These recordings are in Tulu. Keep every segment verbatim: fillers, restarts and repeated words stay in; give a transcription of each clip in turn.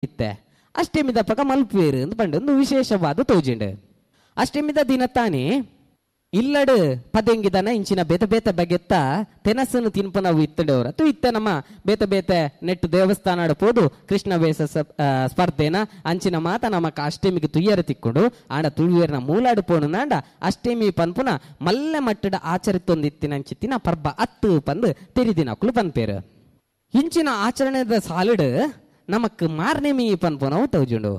ಇತ್ತೆ ಅಷ್ಟಮಿದ ಪಕ ಮಲ್ಪುವೇರು ಅಂದ್ ಪಂಡ ಒಂದು ವಿಶೇಷವಾದ ತೋಜಿಂಡು. ಅಷ್ಟಮಿದ ದಿನ ತಾನೇ ಇಲ್ಲಡು ಪದೆಂಗಿದನ ಇಂಚಿನ ಬೇತೆ ಬೇತೆ ಬಗೆತ್ತ ತೆನಸನ್ನು ತಿನ್ಪನವು ಇತ್ತಂಡವ್ರ ತು ಇತ್ತ ನಮ್ಮ ಬೇತೆ ಬೇತೆ ನೆಟ್ಟು ದೇವಸ್ಥಾನ ಪೋದು ಕೃಷ್ಣ ವೇಷ ಸ್ಪರ್ಧೆನ ಅಂಚಿನ ಮಾತ ನಮಕ್ ಅಷ್ಟಮಿಗೆ ತುಯ್ಯರ ತಿಕ್ಕೊಂಡು ಆಂಡ ತುಳುವೇರ್ನ ಮೂಲಾಡು ಪೋಣು ನಾಂಡ ಅಷ್ಟಮಿ ಪನ್ಪುನ ಮಲ್ಲೆ ಮಟ್ಟದ ಆಚರಿತೊಂದಿತ್ತಿನ ಅಂಚಿತ್ತಿನ ಪರ್ಬ ಅತ್ತು ಪಂದು ತೆರಿದಿನಕುಲು ಪನ್ಪೇರು. ಇಂಚಿನ ಆಚರಣೆದ ಸಾಲಿಡು ನಮಕ್ ಮಾರ್ನೆಮಿ ಪನ್ಪುನವು ತೌಜುಂಡು.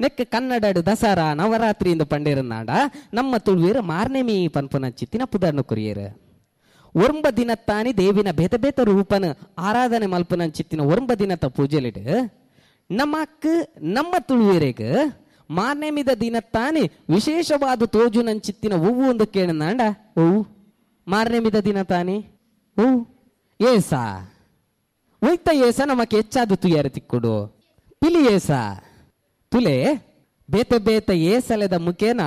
ನೆಕ್ ಕನ್ನಡಡು ದಸರಾ ನವರಾತ್ರಿ ಇಂದು ಪಂಡೇರನಾಡ ನಮ್ಮ ತುಳುವೇರು ಮಾರ್ನೆಮಿ ಪನ್ಪುನ ಚಿತ್ತಿನ ಪುದರ್ನು ಕುರಿಯರು. ಒಂಬ ದಿನತ್ತಾನಿ ದೇವಿನ ಬೇತೆ ಬೇತೆ ರೂಪನ ಆರಾಧನೆ ಮಲ್ಪುನ ಚಿತ್ತಿನ ಒಂಬ ದಿನತ್ತ ಪೂಜೆಲಿಡು ನಮಕ್ ನಮ್ಮ ತುಳುವೇರೆಗ್ ಮಾರ್ನೆಮಿದ ದಿನತ್ತಾನಿ ವಿಶೇಷವಾದ ತೋಜುನಂಚಿತ್ತಿನ ಹೂವು ಒಂದು ಕೇಳನಾಂಡ ಹೂವು ಮಾರ್ನೆಮಿದ ದಿನ ತಾನಿ ಹೂವು ಏಸ ಒಯ್ತ ಏಸ ನಮಕ್ ಹೆಚ್ಚಾದ ತುಯ್ಯಾರ ತಿಕ್ಕುಡು ಪಿಲಿ ಏಸ ತುಲೆ ಬೇತೆ ಬೇತೆ ಏಸಲೆದ ಮುಖೇನ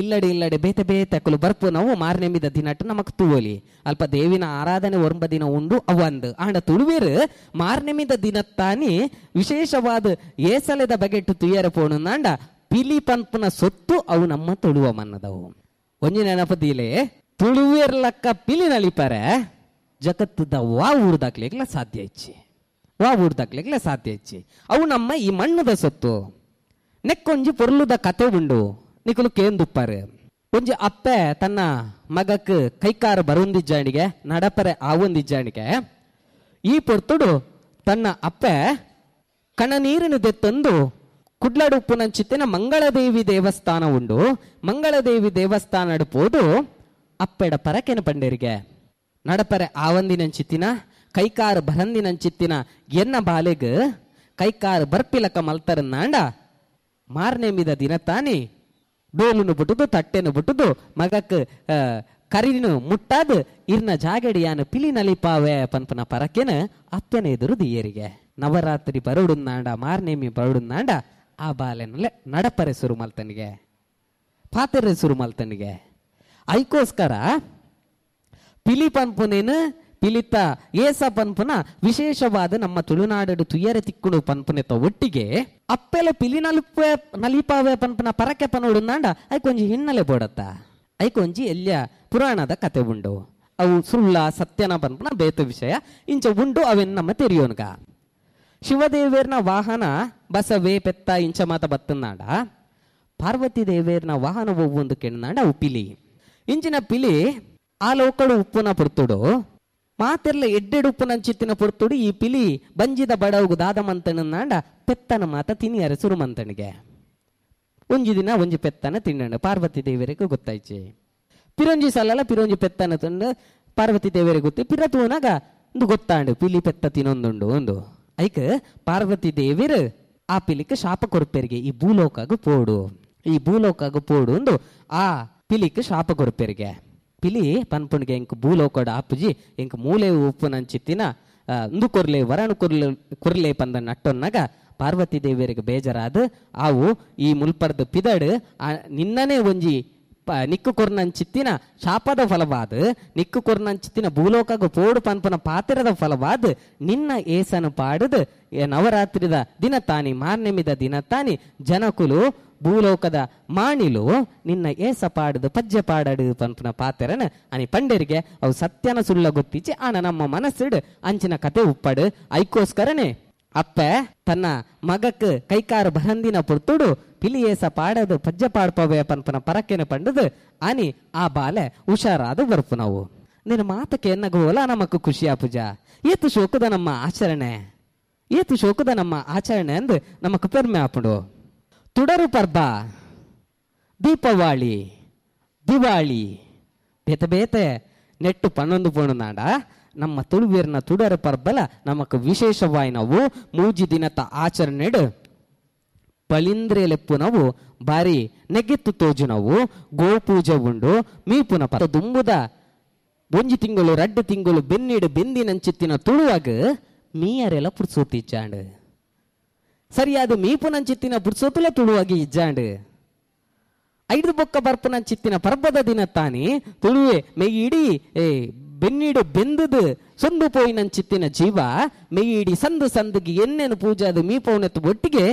ಇಲ್ಲಡೆ ಇಲ್ಲಡೆ ಬೇತೆ ಬೇತೆ ಅಕಲು ಬರ್ಪು ನಾವು ಮಾರ್ನೆಮಿದ ದಿನಟ್ಟು ನಮಕ್ ತೂವಲಿ ಅಲ್ಪ ದೇವಿನ ಆರಾಧನೆ ಒಂಬ ದಿನ ಉಂಡು ಅವಂದು ಆಂಡ ತುಳುವೇರು ಮಾರ್ನೆಮಿದ ದಿನತ್ತಾನಿ ವಿಶೇಷವಾದ ಏಸಲೆದ ಬಗೆಟ್ಟು ತುಯ್ಯರ ಪೋಣುಂದಾಂಡ ಪಿಲಿ ಪನ್ಪುನ ಸೊತ್ತು ಅವು ನಮ್ಮ ತುಳುವ ಮನ್ನದವು. ಒಂಜಿ ನೆನಪದಿಲೆ ತುಳುವೇರ್ಲಕ್ಕ ಪಿಲಿ ನಲಿಪರೆ ಜಗತ್ತದ ವಾ ಊರ್ದಾಕ್ಲಿಕ್ಲ ಸಾಧ್ಯ ಇಚ್ಚಿ ವಾ ಊರ್ದಾಕ್ಲಿಕ್ಲ ಸಾಧ್ಯ ಇಚ್ಚಿ ಅವು ನಮ್ಮ ಈ ಮಣ್ಣದ ಸೊತ್ತು. ನೆಕ್ಕೊಂಜಿ ಪೊರ್ಲುದ ಕತೆ ಉಂಡು ನಿಕುಲು ಕೇಂದುಪ್ಪಾರು. ಒಂಜಿ ಅಪ್ಪೆ ತನ್ನ ಮಗಕ್ ಕೈಕಾರ ಬರುಂದಿಜ್ಜಾಣಿಗೆ ನಡಪರೆ ಆವೊಂದಿಜ್ಜಾಣಿಗೆ ಈ ಪೊರ್ತುಡು ತನ್ನ ಅಪ್ಪೆ ಕಣನೀರಿನ ದೆತ್ತೊಂದು ಕುಡ್ಲಡುಪ್ಪುನಂಚಿತ್ತಿನ ಮಂಗಳದೇವಿ ದೇವಸ್ಥಾನ ಉಂಡು. ಮಂಗಳದೇವಿ ದೇವಸ್ಥಾನ ಪೋದು ಅಪ್ಪೆಡ ಪರಕೆನ ಪಂಡೇರಿಗೆ ನಡಪರೆ ಆವಂದಿನಂಚಿತ್ತಿನ ಕೈಕಾರ ಬರಂದಿನಂಚಿತ್ತಿನ ಎನ್ನ ಬಾಲೆಗ್ ಕೈಕಾರ ಬರ್ಪಿಲಕ ಮಲ್ತರನ್ನಾಂಡ ಮಾರ್ನೆಮಿದ ದಿನ ತಾನಿ ಡೋಲುನು ಬಿಟ್ಟುದು ತಟ್ಟೆನು ಬಿಟ್ಟುದು ಮಗಕ್ ಕರಿನು ಮುಟ್ಟಾದ ಇರ್ನ ಜಾಗಡಿಯಾನ ಪಿಲಿ ನಲಿಪಾವೆ ಪನ್ಪನ ಪರಕೆನ ಅಪ್ಪನ ಎದುರು ದಿಯರಿಗೆ. ನವರಾತ್ರಿ ಬರುಡುನ್ನಾಂಡ ಮಾರ್ನೇಮಿ ಬರುಡುನ್ನಾಂಡ ಆ ಬಾಲೆನಲ್ಲೇ ನಡಪರೆ ಸುರು ಮಲ್ತನಿಗೆ ಪಾತೆರೆ ಸುರು ಮಲ್ತನಿಗೆ. ಐಕೋಸ್ಕರ ಪಿಲಿ ಪನ್ಪುನೇನು ಪಿಲಿತ ಏಸ ಪನ್ಪುನ ವಿಶೇಷವಾದ ನಮ್ಮ ತುಳುನಾಡು ತುಯ್ಯರೆ ತಿಕ್ಕುಡು ಪನ್ಪುನೆತ ಒಟ್ಟಿಗೆ ಅಪ್ಪೆಲ ಪಿಲಿ ನಲಿಪ ನಲಿಪಾವೆ ಪನ್ಪುನ ಪರಕೆ ಪನೋಡುಂದಾಂಡ ಐಕೊಂಜಿ ಹಿನ್ನೆಲೆ ಬೋಡತ್ತ ಐಕೊಂಜಿ ಎಲ್ಲಿಯ ಪುರಾಣದ ಕತೆ ಉಂಡು. ಅವು ಸುಳ್ಳ ಸತ್ಯನ ಪನ್ಪುನ ಬೇತ ವಿಷಯ ಇಂಚ ಉಂಡು ಅವೆನ್ ನಮ್ಮ ತೆರಿಯೋನ್ಗ. ಶಿವದೇವೇರ್ನ ವಾಹನ ಬಸವೇ ಪೆತ್ತ ಇಂಚ ಮಾತ ಬತ್ತನಾಡ ಪಾರ್ವತಿ ದೇವೇರ್ನ ವಾಹನ ಒವ್ವೊಂದು ಕೆಣ್ಣಾಂಡ ಅವು ಪಿಲಿ. ಇಂಚಿನ ಪಿಲಿ ಆ ಲೋಕಡು ಉಪ್ಪುನ ಪೊರ್ತುಡು ಮಾತೆರ್ಲ ಎಡ್ಡೆಡು ಉಪ್ಪುನಂಚಿತ್ತಿನ ಪೊರ್ತುಡು ಈ ಪಿಲಿ ಬಂಜಿದ ಬಡವುಗು ದಾದ ಮಂತಣ್ಣಾಂಡ ಪೆತ್ತನ ಮಾತ ತಿನಿಯರ ಸುರು ಮಂತನಿಗೆ. ಒಂಜಿ ದಿನ ಒಂಜಿ ಪೆತ್ತನ ತಿನ್ನಣ್ಣ ಪಾರ್ವತಿ ದೇವರಿಗೆ ಗೊತ್ತಾಯ್ಚಿ. ಪಿರೊಂಜಿ ಸಲಲ ಪಿರೊಂಜಿ ಪೆತ್ತನ ತಂದು ಪಾರ್ವತಿ ದೇವರಿಗೆ ಗೊತ್ತಿ ಪಿರ ತೂನಾಗ ಒಂದು ಗೊತ್ತಾಂಡು ಪಿಲಿ ಪೆತ್ತ ತಿನ್ನೊಂದುಂಡು ಒಂದು ಐಕ್ ಪಾರ್ವತಿ ದೇವಿರು ಆ ಪಿಲಿಕ್ ಶಾಪ ಕೊರ್ಪೆರಿಗೆ ಈ ಭೂಲೋಕಾಗು ಪೋಡು ಈ ಭೂಲೋಕಾಗು ಪೋಡು ಒಂದು ಆ ಪಿಲಿಕ್ ಶಾಪ ಕೊರ್ಪೆರಿಗೆ. ಪಿಲಿ ಪನ್ಪುಣಿಗೆ ಎಂಕ್ ಭೂಲೋಕಡ ಆಪುಜಿ ಎಂಕ್ ಮೂಲೆ ಉಪ್ಪು ನಂಚಿತ್ತಿನ ಇಂದು ಕೊರ್ಲೆ ವರಣ ಕೊರ್ಲೆ ಕೊರ್ಲೆ ಪಂದ ನಟ್ಟೊನ್ನಾಗ ಪಾರ್ವತಿ ದೇವಿಯರಿಗೆ ಬೇಜಾರಾದ ಆವು ಈ ಮುಲ್ಪರ್ದ ಪಿದಡು ನಿನ್ನನೇ ಒಂಜಿ ಪ ನಿಕ್ಕು ಕೊರ್ನಂಚಿತ್ತಿನ ಶಾಪದ ಫಲವಾದ ನಿಕ್ಕು ಕೊರ್ನಂಚಿತ್ತಿನ ಭೂಲೋಕಗ ಪೋಡು ಪನ್ಪುನ ಪಾತ್ರದ ಫಲವಾದ ನಿನ್ನ ಏಸನು ಪಾಡದು ನವರಾತ್ರಿದ ದಿನ ತಾನಿ ಮಾರ್ನೆಮಿದ ದಿನ ತಾನಿ ಜನಕುಲು ಭೂಲೋಕದ ಮಾಣಿಲು ನಿನ್ನ ಏಸ ಪಾಡದು ಪಜ್ಜೆ ಪಾಡಡು ಪನ್ಪುನ ಪಾತೆರನ ಅನಿ ಪಂಡರಿಗೆ ಅವು ಸತ್ಯನ ಸುಳ್ಳ ಗೊತ್ತಿಚ್ಚಿ ಆನ ನಮ್ಮ ಮನಸ್ಸಿಡು ಅಂಚಿನ ಕತೆ ಉಪ್ಪಾಡು. ಐಕೋಸ್ಕರನೇ ಅಪ್ಪೆ ತನ್ನ ಮಗಕ್ ಕೈಕಾರ ಬರಂದಿನ ಪೊರ್ತುಡು ಪಿಲಿ ಏಸ ಪಾಡದು ಪಜ್ಜೆ ಪಾಡ್ಪವೆ ಪನ್ಪುನ ಪರಕೆನ ಪಂಡದು ಅನಿ ಆ ಬಾಲೆ ಹುಷಾರಾದ ಬರ್ಪು ನಾವು. ನಿನ್ನ ಮಾತಕ್ಕೆ ಎನ್ನಗೋಲ ನಮಕ್ ಖುಷಿ ಆಪುಜ ಏತು ಶೋಕದ ನಮ್ಮ ಆಚರಣೆ ಏತು ಶೋಕದ ನಮ್ಮ ಆಚರಣೆ ಅಂದು ನಮಕ್ ಪೆರ್ಮೆ ಆಪುಂಡು. ತುಡರು ಪರ್ಬ ದೀಪಾವಳಿ ದಿವಾಳಿ ಬೇತೆ ಬೇತೆ ನೆಟ್ಟು ಪನ್ನೊಂದು ಪೋಣುನಾಡ ನಮ್ಮ ತುಳುವೀರ್ನ ತುಡರ ಪರ್ಬಲ ನಮಕ್ ವಿಶೇಷವಾಯಿ ನಾವು ಮೂಜಿ ದಿನತ ಆಚರಣೆಡು ಬಲಿಂದ್ರೆ ಲೆಪ್ಪು ನಾವು ಬಾರಿ ನೆಗೆತ್ತು ತೋಜು ನಾವು ಗೋಪೂಜೆ ಉಂಡು ಮೀಪುನ ಪದ ದುಂಬುದ ಒಂಜಿ ತಿಂಗಳು ರಡ್ಡು ತಿಂಗಳು ಬೆನ್ನಿಡು ಬೆಂದಿನಂಚಿತ್ತಿನ ತುಳುವಾಗ ಮೀಯರೆಲ್ಲ ಪುರ್ಸೋತಿಚ್ಚಾಂಡು ಸರಿಯಾದ ಮೀಪುನಂಚಿತ್ತಿನ ಪುರ್ಸೋತುಲ ತುಳುವಾಗಿ ಇಜ್ಜಾಂಡು ಐದು ಬೊಕ್ಕ ಬರ್ಪುನಂಚಿತ್ತಿನ ಪರ್ಬದ ದಿನ ತಾನಿ ತುಳುವೆ ಮೆಯ್ಯಿಡಿ ಏ ಬೆನ್ನಿಡು ಬೆಂದದು ಸೊಂದು ಪೋಯಿನಂಚಿತ್ತಿನ ಜೀವ ಮೆಯ್ಯಿಡಿ ಸಂದು ಸಂದುಗೆ ಎನ್ನೆನು ಪೂಜಾದ ಮೀಪೌನೆತ್ತು ಒಟ್ಟಿಗೆ